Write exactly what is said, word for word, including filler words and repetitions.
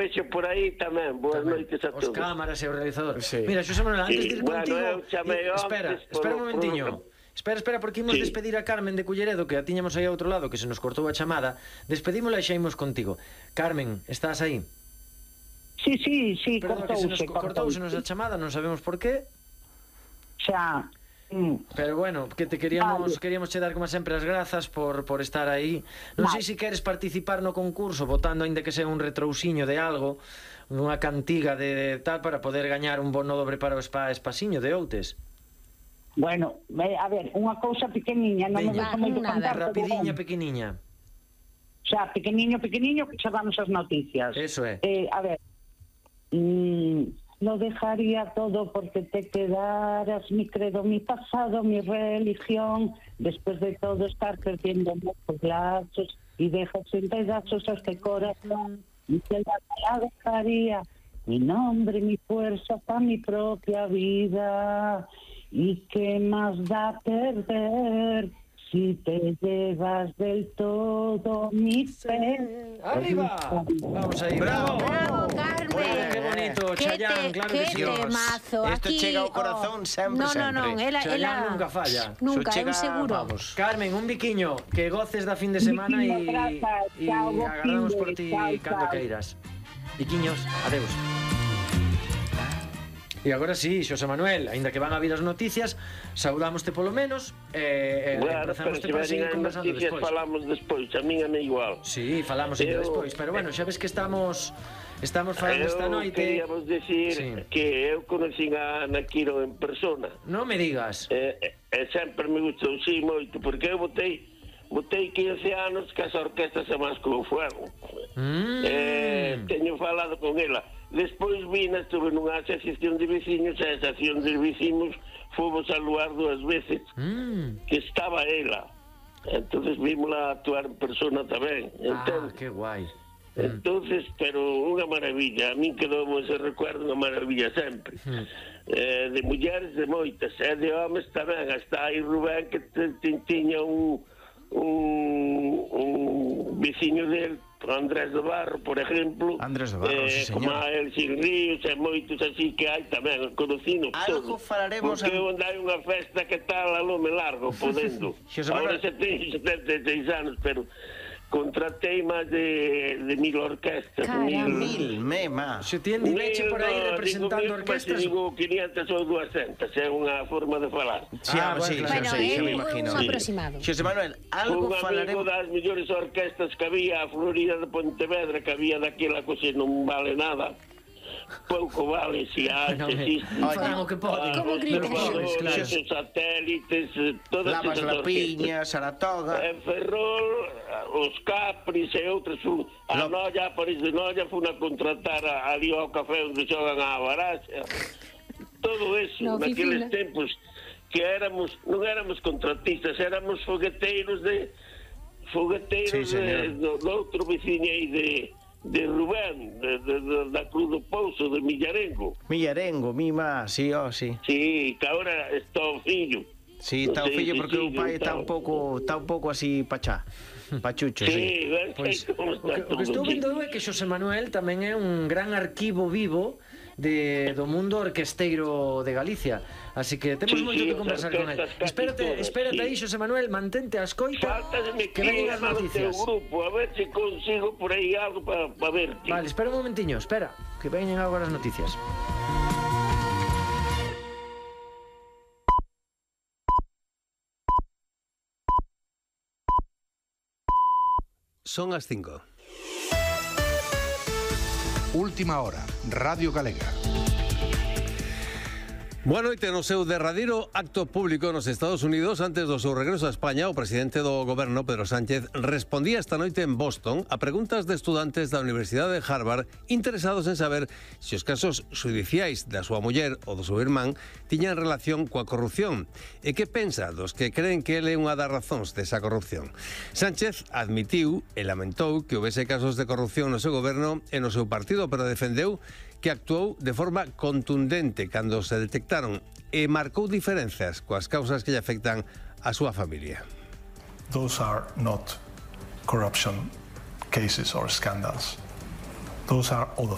Vexo por aí tamén, boas noites a todos. Os cámaras e o realizador. Sí. Mira, Xosé Manuel, antes de ir Bueno, contigo... eu chamei eh, Espera, antes espera un por- momentiño. por- Espera, espera, porque imos Sí. despedir a Carmen de Culleredo, que a tiñamos aí a outro lado, que se nos cortou a chamada. Despedímola e xa imos contigo. Carmen, estás aí? Sí, sí, sí, Perdón, que se nos cortouse, cortouse nos a chamada, non sabemos por qué. Xa. Mm. Pero bueno, que te queríamos Vale. queríamos che dar como sempre as grazas por, por estar aí. Non sei Vale. se queres participar no concurso votando aínda que sea un retrousiño de algo, unha cantiga de tal para poder gañar un bono dobre para o spa Espasiño de Outes. Bueno, ve, a ver, unha cousa pequeniña, non me Veña. gusta moito Nada, contar, pero Rapidiña, bueno. pequeniña. Xa, pequeniño, pequeniño, que xa damos as noticias. Eso é. Eh, a ver, mm, lo dejaría todo porque te quedaras, mi credo, mi pasado, mi religión, después de todo estar perdiendo muchos lazos y dejas en pedazos a este corazón, y que la, la dejaría, mi nombre, mi fuerza, para mi propia vida, y qué más da perder si te llevas del todo mi fe. ¡Arriba! Vamos aí, bravo. Bravo, Muy bien, Carmen. qué bonito, Que Chayanne, te- claro que que sí. temazo. Esto Aquí, chega ao oh, corazón sempre, no, no, no, sempre. ela, Chayanne ela nunca falla. Nunca, Eso é un chega, seguro. vamos. Carmen, un biquiño, que goces da fin de semana e Biquiño, grazas. e Chao, bo agardamos fin de- por ti chao, cando chao. queiras. Biquiños, adeus. E agora sí, Xosé Manuel, aínda que van a vir as noticias, saudámoste polo menos e, e Bueno, pero empezamoste se para veñen seguir as conversando noticias despois. falamos despois, a min é igual. Sí, falamos ainda Eu- despois, pero bueno, xa ves que estamos estamos falando esta Eu noite. queríamos decir Sí. que eu conocín a Ana Quiro en persona. Non me digas. E, e sempre me gustou sí moito, porque eu botei botei quince anos que as orquestas se más como fuego. Mm. Eh, teño falado con ela. Despois vina, estuve nunha asociación de veciños, e a asociación de veciños fomos a lugar dúas veces, Mm. que estaba ela. Entonces vimosla actuar en persona tamén. Ah, Entón, que guai. entonces, pero unha maravilla. A min quedou ese recuerdo unha maravilla sempre. Mm. Eh, de mulleres de moitas, e de homes tamén. Hasta aí Rubén, que te, te, tiña un, un, un veciño del, Andrés de Barro, por exemplo. Andrés de Barro, eh, sí, como señor. a Elxir Ríos e moitos así que hai tamén, conocido Algo todos. falaremos Porque a- onde hai unha festa que tal a lome largo, podendo. Xosé Ahora Manuel- xa teño setenta e seis anos, pero contratei máis de, de mil orquestas. Caramba. Mil, mema. Se ti endiveche por aí no, representando digo mil, orquestas. mas digo quinientas ou duascentas, é unha forma de falar. Sí, Ah, ah, bueno, sí, claro. sí, Bueno, sí, é xa me un imagino. aproximado. Xosé Manuel, Un algo amigo falaremos... das mellores orquestas que había, a Florida de Pontevedra, que había daquela cosa non vale nada. Pouco vale, si hai, No, se me- existe. fan o que poden. Como gritan. Pois, claro. Os satélites, eh, todas Lavas esas la orquestas. piña, Saratoga... En Ferrol, os Capris e outros, fu- a Lo- Noia, a París de Noia, fun a contratar a, ali ao café onde xogan a baraxa. Todo eso, Na naqueles oficina. tempos que éramos, non éramos contratistas, éramos fogueteiros de fogueteiros Sí, señor. de, do, do outro veciño aí de de Rubén, de, de, de, da Cruz do Pouso, de Millarengo. Millarengo, mima, sí, oh, sí. Sí, que agora está o fillo. Sí, Non está o sei fillo se porque o sigue pai ou está tal. un pouco, está un pouco así pachá. Pachucho, sí. Sí, ves Pois, que como o que, está o que estou todo vendo aquí. é que Xosé Manuel tamén é un gran arquivo vivo de, do mundo orquesteiro de Galicia. Así que temos Sí, moito sí, que as conversar con él. orquestas casi Espérate, todas, espérate sí. aí, Xosé Manuel, mantente a escoita Faltasme que que veñen as llamar o teu noticias. grupo, a ver se consigo por aí algo para pa verte. Vale, espera un momentiño, espera, que veñen agora as noticias. Son as cinco. Última hora, Radio Galega. Boa noite. No seu derradeiro acto público nos Estados Unidos antes do seu regreso a España, o presidente do goberno, Pedro Sánchez, respondía esta noite en Boston a preguntas de estudantes da Universidade de Harvard interesados en saber se os casos judiciais da súa muller ou do seu irmán tiñan relación coa corrupción e que pensa dos que creen que ele é unha das razóns desa corrupción. Sánchez admitiu e lamentou que houvese casos de corrupción no seu goberno e no seu partido, pero defendeu que actuou de forma contundente cando se detectaron e marcou diferenzas coas causas que lle afectan a súa familia. Those are not corruption cases or scandals. Those are all the